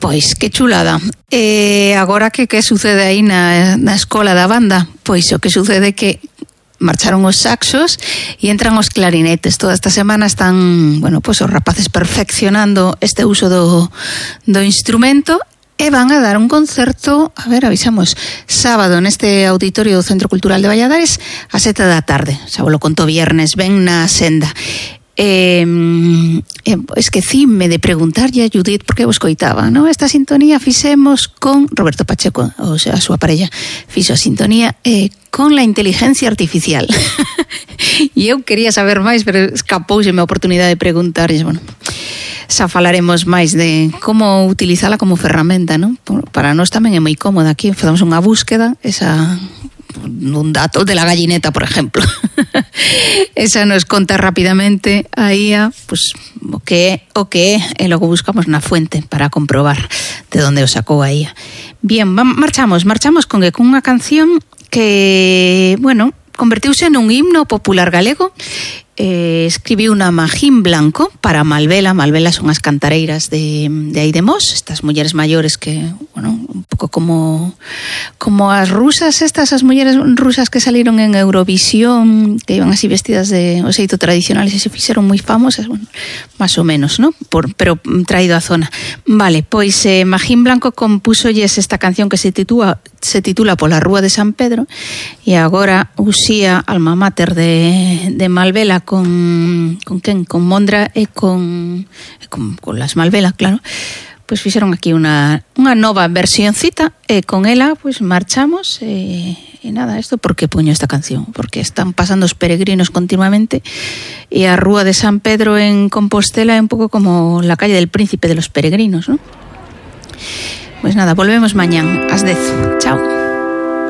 Pois, que chulada. Agora que sucede aí na escola da banda? Pois o que sucede é que marcharon os saxos e entran os clarinetes. Toda esta semana están, bueno, pois os rapaces perfeccionando este uso do instrumento e van a dar un concerto, a ver, avisamos, sábado neste auditorio do Centro Cultural de Valladares a 7 da tarde. Xa vos lo conto viernes, ven na senda. Esquecíme de preguntarlle a Judith porque vos coitaba, ¿no? Esta sintonía fixemos con Roberto Pacheco, o sea, a súa parella fixo a sintonía con la inteligencia artificial. E eu quería saber máis, pero escapouseme a oportunidade de preguntarlle, bueno, xa falaremos máis de como utilizala como ferramenta, ¿no? Para nós tamén é moi cómoda. Aquí facemos unha búsqueda, un dato de la gallineta, por ejemplo. Esa nos conta rápidamente aí pues, o que é, e logo buscamos na fuente para comprobar de onde o sacou aí. Bien, marchamos con unha canción que, bueno, convertiuse nun himno popular galego. Escribiu unha Magín Blanco para Malvela. Malvela son as cantareiras de aí de Mos, estas mulleres maiores que, bueno, un pouco como as rusas estas, as mulleres rusas que saliron en Eurovisión, que iban así vestidas de o xeito tradicional e se fixeron moi famosas, bueno, máis ou menos, ¿no? Pero traído á zona. Vale, pois Magín Blanco compúxolles esta canción que se titula Pola Rúa de San Pedro, e agora Uxía, alma mater de Malvela, con quen? Con Mondra e con las Malvela, claro. Pois fixeron aquí unha nova versioncita e con ela pois marchamos e nada, isto porque puño esta canción, porque están pasando os peregrinos continuamente e a Rúa de San Pedro en Compostela é un pouco como la calle del Príncipe de los peregrinos, ¿no? Pois nada, volvemos mañán ás 10. Chao.